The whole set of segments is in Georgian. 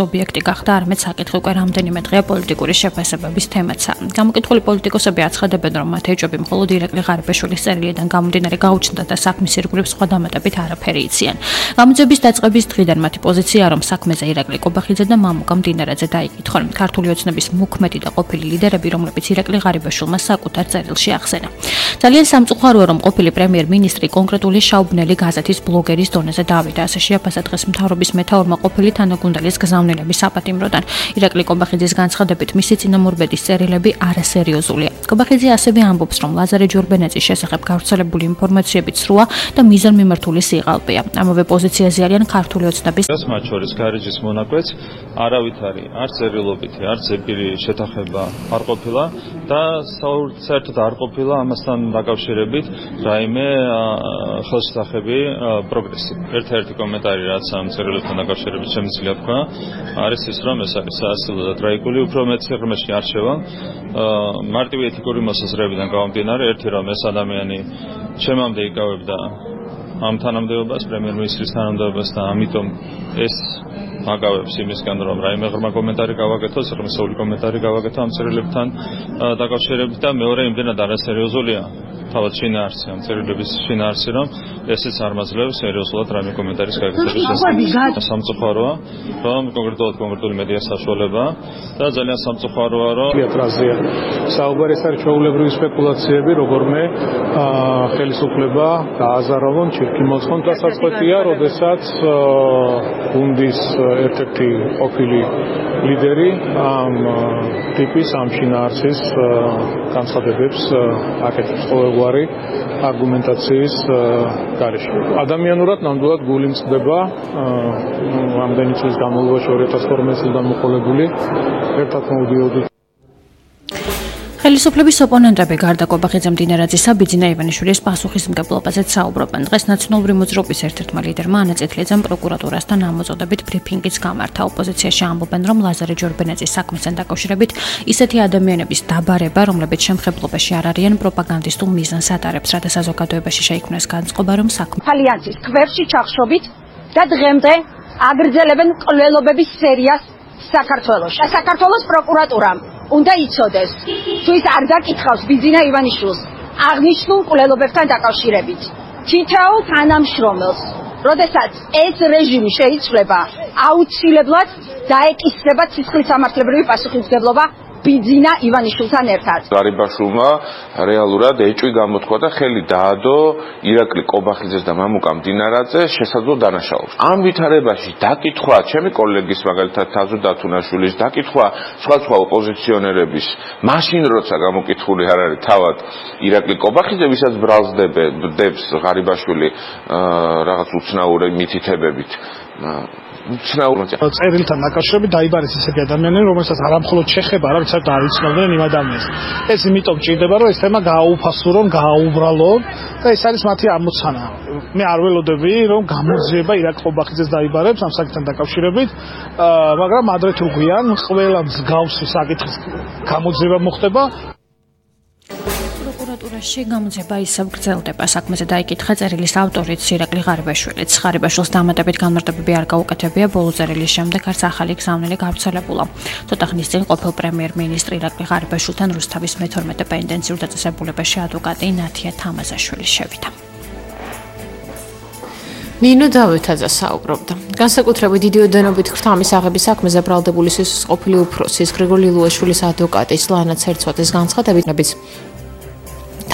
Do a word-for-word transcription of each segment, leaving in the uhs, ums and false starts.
ობიექტი გახდა, არამედ საკითხი უკვე რამდენიმე დღეა პოლიტიკური შეფასებების თემაცაა. გამოკითხული პოლიტიკოსები აცხადებენ, რომ მათ ეჭვები მხოლოდ ირაკლი ღარიბაშვილის წერილიდან გამომდინარე გაუჩნდათ და საქმის ირგვლივ სხვა დამატებით არაფერი იციან. გამოძიების დაწყების დღიდან მათი პოზიციაა, რომ საქმეზე ირაკლი კობახიძე და მამუკა მდინარაძე დაიკითხონ. ქართული ოცნების მოქმედი და ყოფილი ლიდერები, რომლებიც ირაკლი ღარიბაშვილმა საკუთარ წერილში ახსენა. ძალიან სამწუხაროა, რომ ყოფილი პრემიერ-მინისტრი კონკრეტული შაუბნელი გაზეთის ბლოგერის დონეზე დავიდა. ასე შეაფასა დღეს მთავრობის მეთაურმა ყოფილი თანაგუნდელის გზავნილების საპატიმროდან. ირაკლი კობახიძის განცხადებით, მისი წინამორბედის წერილები არასერიოზულია. კობახიძე ასევე ამბობს, რომ ლაზარე ჯურბენეძის შესახებ გავრცელებული ინფორმაციები ცრუა და მიზანმიმართული სიღალბეა. ამავე პოზიციაზე არიან ქართული ოცნების მათ შორის გარეჯის მონაკვეთს არავითარი არ წერილობითი, არ ზეპირი შეთანხმება არ ყოფილა და საერთოდ არ ყოფილა ამასთან დაკავშირებით რაიმე ხელშესახები პროგრესი. ერთ-ერთი კომენტარი რაც ამ წერილებთან დაკავშირებით შემიძლია თქვა, არის ის, რომ ეს არის საასილო და ტრაიგული, უფრო მეტ სიღრმეში არჩევა. მარტივი ეთიკური მოსაზრებიდან გამომდინარე, ერთი რომ ეს ადამიანი ჩემამდე იკავებდა ამ თანამდებობას, პრემიერ-მინისტრის თანამდებობას და ამიტომ ეს აგავებს იმისგან, რომ რაიმე ღრმა კომენტარი გავაკეთო, სიღრმისეული კომენტარი გავაკეთო ამ წერილებთან დაკავშირებით და მეორე იმდენად არასერიოზულია თავად შინაარსი, ამ წერილების შინაარსი, რომ ესეც არ მაძლევს სერიოზულად რაიმე კომენტარის გაკეთების შესახებ. სამწუხაროა, რომ კონკრეტულად კონკრეტული მედია საშუალება და ძალიან სამწუხაროა, რომ თეატრაზეა საუბარი ეს არის ჩვეულებრივი სპეკულაციები, როგორმე ხელისუფლება გააზაროვონ, ჩირკი მოცხონ და საწყვეტია, როდესაც გუნდის ერთ-ერთი ყოფილი ლიდერი ამ ტიპის ამ შინაარსის განცხადებებს აკეთებს ყოველგვარი არგუმენტაციის გარეშე. ადამიანურად ნამდვილად გული მწყდება ამდენი წლის განმავლობაში ორი ათას თორმეტ წლიდან მოყოლებული ერთად მოვდიოდით. ხელისუფლების ოპონენტები გარდა კობახიძე მდინარაძისა, ბიძინა ივანიშვილის პასუხისმგებლობაზეც საუბრობენ. დღეს ნაციონალური მოძრაობის ერთ-ერთმა ლიდერმა ანა წითლიძემ პროკურატურასთან ამოწოდებით ბრიფინგიც გამართა. ოპოზიციაში ამბობენ, რომ ლაზარე ჯურბენეძის საქმესთან დაკავშირებით ისეთი ადამიანების დაბარება, რომლებიც შემხებლობაში არ არიან, პროპაგანდისტულ მიზანს ატარებს, რათა საზოგადოებაში შეიქმნას განწყობა, რომ საქმე ალიანსის ქვებში ჩახშობით და დღემდე აგრძელებენ კვლელობების სერიას საქართველოში. საქართველოს პროკურატურამ უნდა იცოდეს, თუ ის არ დაკითხავს ბიძინა ივანიშვილს აღნიშნულ კვლელობებთან დაკავშირებით. თითოეულ თანამშრომელს, როდესაც ეს რეჟიმი შეიცვლება, აუცილებლად დაეკისრება ცისხლის სამართლებრივი პასუხისმგებლობა ბიძინა ივანიშვილთან ერთად. ღარიბაშვილმა რეალურად ეჭვი გამოთქვა და ხელი დაადო ირაკლი კობახიძეს და მამუკა მდინარაძეს შესაძლო დანაშაულს. ამ ვითარებაში დაკითხვა ჩემი კოლეგის, მაგალითად თაზო დათუნაშვილის, დაკითხვა სხვა სხვა ოპოზიციონერების, მაშინ როცა გამოკითხული არ არის თავად ირაკლი კობახიძე, ვისაც ბრალს დებს ღარიბაშვილი რაღაც უცნაური მითითებებით. წერილთან დაკავშირებით დაიბარეს ისეთი ადამიანები, რომელსაც არამხოლოდ შეხება, არამედ საერთოდ არ იცნობდნენ იმ ადამიანს. ეს იმიტომ ჭირდება, რომ ეს თემა გააუფასურონ, გააუბრალონ და ეს არის მათი ამოცანა. მე არ ველოდები, რომ გამოძიება ირაკლი კობახიძეს დაიბარებს ამ საკითხთან დაკავშირებით, მაგრამ ადრე თუ გვიან ყველა მსგავსი საკითხის გამოძიება მოხდება. პროკურატურაში გამოძიება ისევ გრძელდება. საქმეზე დაიკითხა წერილის ავტორიც ირაკლი ღარიბაშვილიც. ღარიბაშვილს დამატებით განმარტებები არ გაუკეთებია, ბოლო წერილის შემდეგ არც ახალი გზავნილი გავრცელებულა. ცოტა ხნის წინ ყოფილ პრემიერ-მინისტრი ირაკლი ღარიბაშვილთან რუსთავის მეთორმეტე პენდენციურ დაწესებულებაში ადვოკატი ნათია თამაზაშვილი შევიდა. ნინო დავითაძე საუბრობდა. განსაკუთრებით დიდი ოდენობით ხრთამის აღების საქმეზე ბრალდებული სისხლის ყოფილი უფროსის გრიგოლი ლუაშვილის ადვოკატის ლანა ცერცვაძეს განცხადებით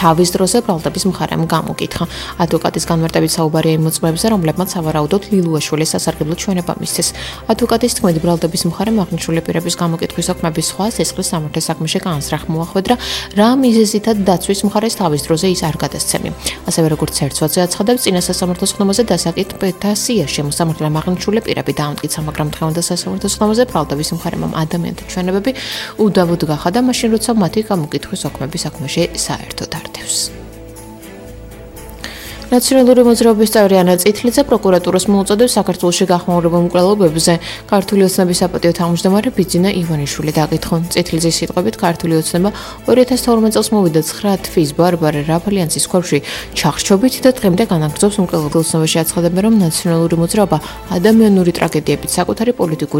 თავის დროზე ბრალდების მხარემ გამოკითხა. ადვოკატის განმარტებით საუბარია იმ მოწმეებზე, რომლებმაც სავარაუდოდ ლილუაშვილის სასარგებლო ჩვენება მისცეს. ადვოკატის თქმით, ბრალდების მხარემ აღნიშნული პირების გამოკითხვის საქმეების სხვა სისხლის სამართლის საქმეში განსრახ მოახვედრა, რა მიზეზითაც დაცვის მხარეს თავის დროზე ის არ გადასცემი. ასევე როგორც ცერცვაძე აცხადებს, წინა სასამართლოს ხდომაზე დასაკითხთა სიაში მოსამართლემ აღნიშნული პირები დაამტკიცა, მაგრამ დღევანდელ სასამართლოს ხდომაზე ბრალდების მხარემ ადამიანთა ჩვენებები უდავოდ გახადა, მაშინ როცა მათი გამოკითხვის საქმეების საქმეში საერთოდ ართევს. ნაციონალური მოძრაობის წევრი ანა წითლიძე პროკურატურას მოუწოდებს საქართველოში გახმაურებულ მკვლელობებზე ქართული ოცნების საპატიო თავმჯდომარე ბიძინა ივანიშვილი დაკითხონ. წითლიძის სიტყვებით, ქართული ოცნება ორი ათას თორმეტ წელს მოვიდა ცხრა თვის ბარბარე რაფალიანსის ქვებში ჩახშობით და დღემდე განაგრძობს მკვლელობელ ოცნებაში. აცხადებენ, რომ ნაციონალური მოძრაობა ადამიანური ტრაგედიებით საკუთარი პოლიტიკური